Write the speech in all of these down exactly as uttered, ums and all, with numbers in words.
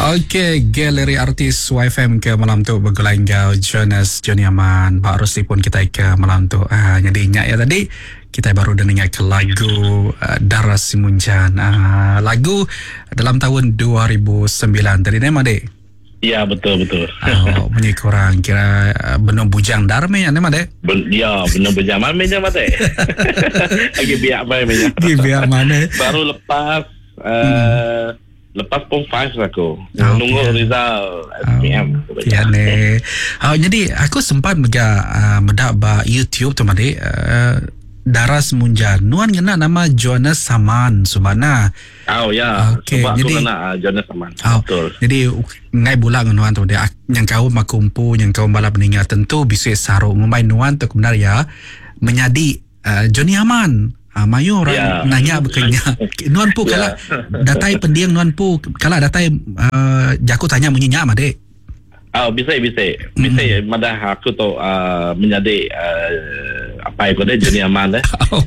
Okey, galeri artis Y F M ke malam tu bergulai enggau Jonas Johnny Aman. Bak Rosli pun kita ke malam tu. Ah, jadi ingat ya tadi kita baru dah dengar ke lagu uh, Dara Simunjan. Uh, lagu dalam tahun dua ribu sembilan tadi ni Mak Dek? Ya, betul betul. Oh, bunyi kurang kira uh, benar bujang darme ya ni Mak Dek? Ben, ya, benar bujang mana nya Mak Dek? Lagi biak mana nya? Lagi biak mana? Baru lepas uh, hmm. lepas pom five aku. Oh, nunggu okay. Rizal S P M. Oh, ya ne. Oh, jadi aku sempat mega uh, medak ba YouTube tu Mak Dek. Uh, Dara Simunjan. Nuan kena nama Jonas Saman subana. Oh ya. Okey, jadi kena uh, Jonas Saman. Oh, betul. Jadi ngai bulan nuan tu dia yang kau makumpu yang kau balap meninggal tentu bisa saruk ngumbai nuan tu benar ya menjadi uh, Johnny Aman. Ah, mayu orang yeah. nanya berkenya. Nuan pu yeah. kala datai pendiang nuan pu kala datai uh, jaku tanya munyinya Mak Dek. Oh, bisa bisa. Bisa mm. madah aku tu uh, menjadi uh, apa itu dia Johnny Aman deh. Oh.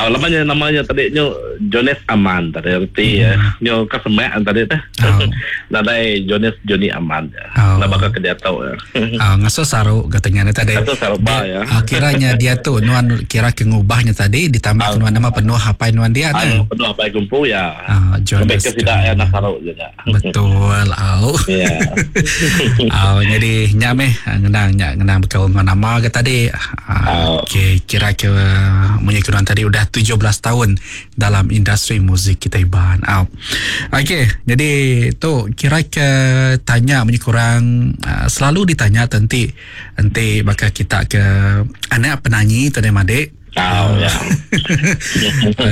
Oh, lamanya namanya tadi nyo Jonas Aman tadi erti mm. nyo kesemak tadi teh. Oh. Nadai Jonas Johnny Aman. Oh. Nak bakal ke dia tahu ya. Oh, ngaso saru katanya tadi. Ngaso saru ba ya. Oh, kiranya dia tu nuan kira kengubahnya tadi ditambah oh. nuan nama penuh apa nuan dia tu. Penuh apa kumpu ya. Oh, Jonas. Sampai tidak ya nak saru juga. Betul. Oh. Ya. Oh, jadi nyame ngenang nyak ngenang berkawan dengan nama ke tadi. Oh. Okey, kira ke menyekuran tadi udah tujuh belas tahun dalam industri muzik kita Iban. Oh. Okey, jadi tu kira ke tanya menyekurang uh, selalu ditanya tenti enti bakal kita ke anak penyanyi tu Mak Dek. Oh, ya.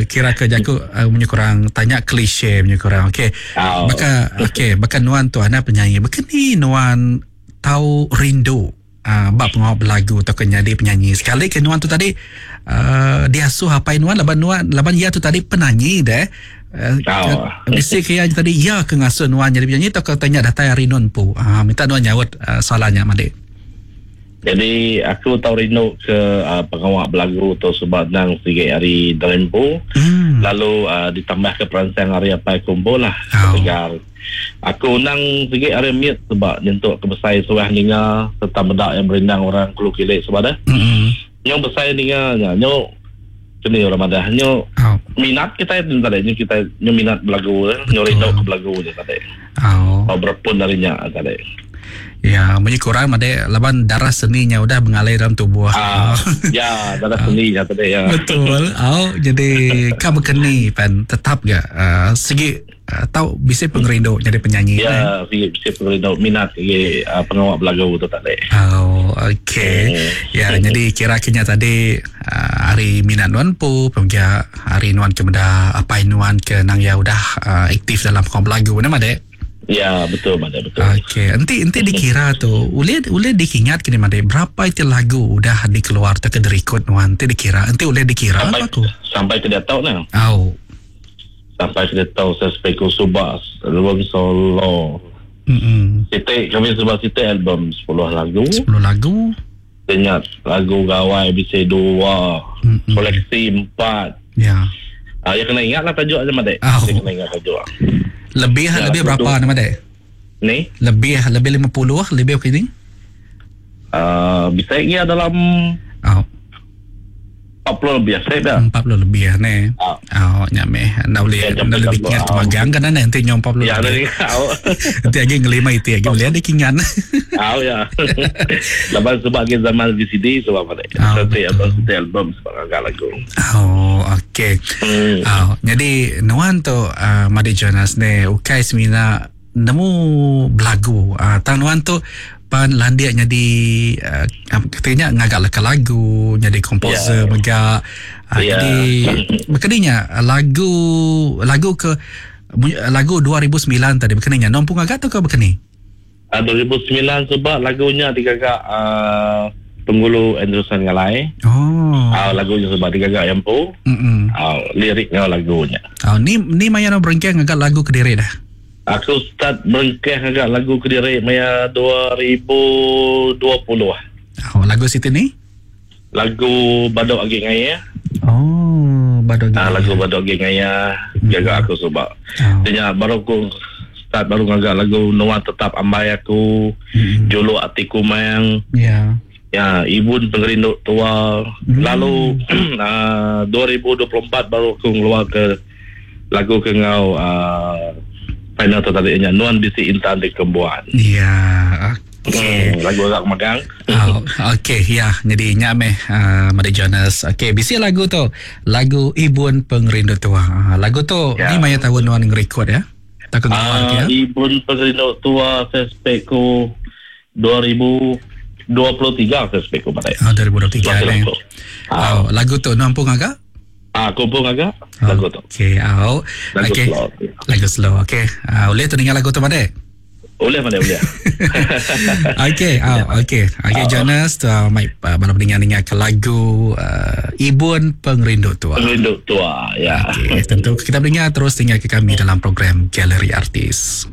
Kira ke jaku uh, menyekurang tanya klise menyekurang. Okey. Oh. Baka okey, baka nuan tu anak penyanyi. Baka ni nuan tau rindu uh, bab pengawal berlagu atau ke jadi penyanyi. Sekali ke nuan tu tadi uh, diasuh apa nuan laban nuan laban ia tu tadi penyanyi deh. Uh, oh. Mesti ke tadi ia ke ngasuh nuan jadi penyanyi atau ke tanya datai hari nuan pu. Uh, minta nuan nyaut uh, soalannya Mak Dek. Jadi aku tahu rindu ke uh, pengawal berlagu tu sebab nang sikit hari dalam pu. Hmm. Lalu uh, ditambah ke peransang hari apa kumpul lah. Oh. Tegar. Aku nang sikit hari miut sebab nyentuk ke besai suah ninga serta medak yang berindang orang kulu kilik sebab dah. Hmm. Nyo besai ninga nya nyo kini orang madah nyo oh. minat kita itu tadi nyo kita nyo minat berlagu nyo rindu ke berlagu je tadi. Oh. Oh, berpun darinya tadi. Ya, bunyi kurang Mak Dek laban darah seninya udah mengalir dalam tubuh. Ah, ya, darah seninya tadi ya. Betul. Oh, jadi kamu keni pan tetap gak uh, segi uh, tahu bisa pengerindu jadi penyanyi. Ya, segi bisa pengerindu minat segi uh, pengawal belagu tu tadi. Oh, okey. Hmm. Ya, jadi kira-kiranya tadi uh, hari minat nuan pu, pemgia hari nuan ke meda apa nuan ke nang ya udah uh, aktif dalam pengawal belagu ni Mak Dek. Ya, betul Mak Dek, betul. Okey, enti enti dikira tu, ulih ulih dikingat kini Mak Dek, berapa itu lagu udah dikeluar atau ke direkod nuan, enti dikira, enti ulih dikira sampai apa aku? Sampai ke dia tahu nah. Oh. Sampai ke dia tahu saya speku subas, album solo. Mm-mm. Siti kami sebab siti album sepuluh lagu. sepuluh lagu. Ingat lagu gawai bisa dua, Mm-mm. koleksi empat. Ya. Ah, ya kena ingatlah tajuk aja Mak Dek. Oh. Ya kena ingat tajuk. Lebih ya, lebih berapa nama Dek? Ni? Lebih lebih lima puluh lebih okey ni? Uh, bisa ingat dalam oh. empat puluh lebih saya dah. empat puluh lebih ni. Oh. Oh, nyame. Nak boleh Ya, nak lebih ingat oh. magang kan nanti nyom empat puluh. Ya, lebih. nanti Nanti lagi ngelima itu lagi boleh ada kingan. Oh ya. Lepas sebab ke zaman V C D sebab apa? Oh, Satu album, satu album sebab agak lagu. Oh, okey. Hmm. Oh, jadi nuan tu uh, Mak Dek Jonas ni ukai semina nemu belagu. Uh, tang nuan tu pan landiak jadi uh, katanya ngagak leka lagu, jadi komposer Ya. mega. Uh, Ya. Jadi berkeninya lagu lagu ke lagu dua ribu sembilan tadi berkeninya nompung agak atau ke berkeni? Uh, dua ribu sembilan sebab lagunya digagak uh, Penggulu Anderson Ngalai. Oh. Uh, lagunya sebab digagak yang pu. Mm-mm. Uh, liriknya lagunya. Oh, ni ni maya nak berengkeh ngagak lagu Kediri dah. Aku start berengkeh ngagak lagu Kediri maya dua ribu dua puluh. Oh, lagu situ ni? Lagu Badok Agi Ngaya. Oh, Badok Agi. Ah, lagu Badok Agi Ngaya gagak aku sebab. Oh. Dia baru aku start baru ngaga lagu Nuan Tetap Ambai Aku, Mm-mm. Juluk Ati Kumang, Ya. ya, Ibun Pengerindu Tua. Hmm. Lalu uh, dua ribu dua puluh empat baru aku ngeluar ke lagu ke ngau uh, final tu tadi nya Nuan Bisi Intan di Kembuan. Ya, okey. Hmm, lagu agak magang. Oh, okey, ya. Jadi nya meh uh, Madi Jonas. Okey, bisi lagu tu, lagu Ibun Pengerindu Tua. Uh, lagu tu Ya. ni maya tahun nuan ngerekod ya. Tak keluar Uh, ya. Ibun Pengerindu Tua saya ku dua ribu dua puluh tiga saya ku pada. Oh, dua ribu dua puluh tiga Masih ni. lagu. Oh, lagu tu nuan pun agak? Ah, aku pun agak lagu tu. Okey, oh. Lagu Okey. slow. Lagu slow. Okey. Uh, boleh tu dengar lagu tu pada? Boleh mana boleh. Okey, oh, okey. Okey, Jonas, tu uh, mai uh, malam dengar-dengar ke lagu uh, Ibun Pengerindu Tua. Pengerindu Tua, ya. Okey, tentu kita mendengar terus tinggal ke kami dalam program Galeri Artis.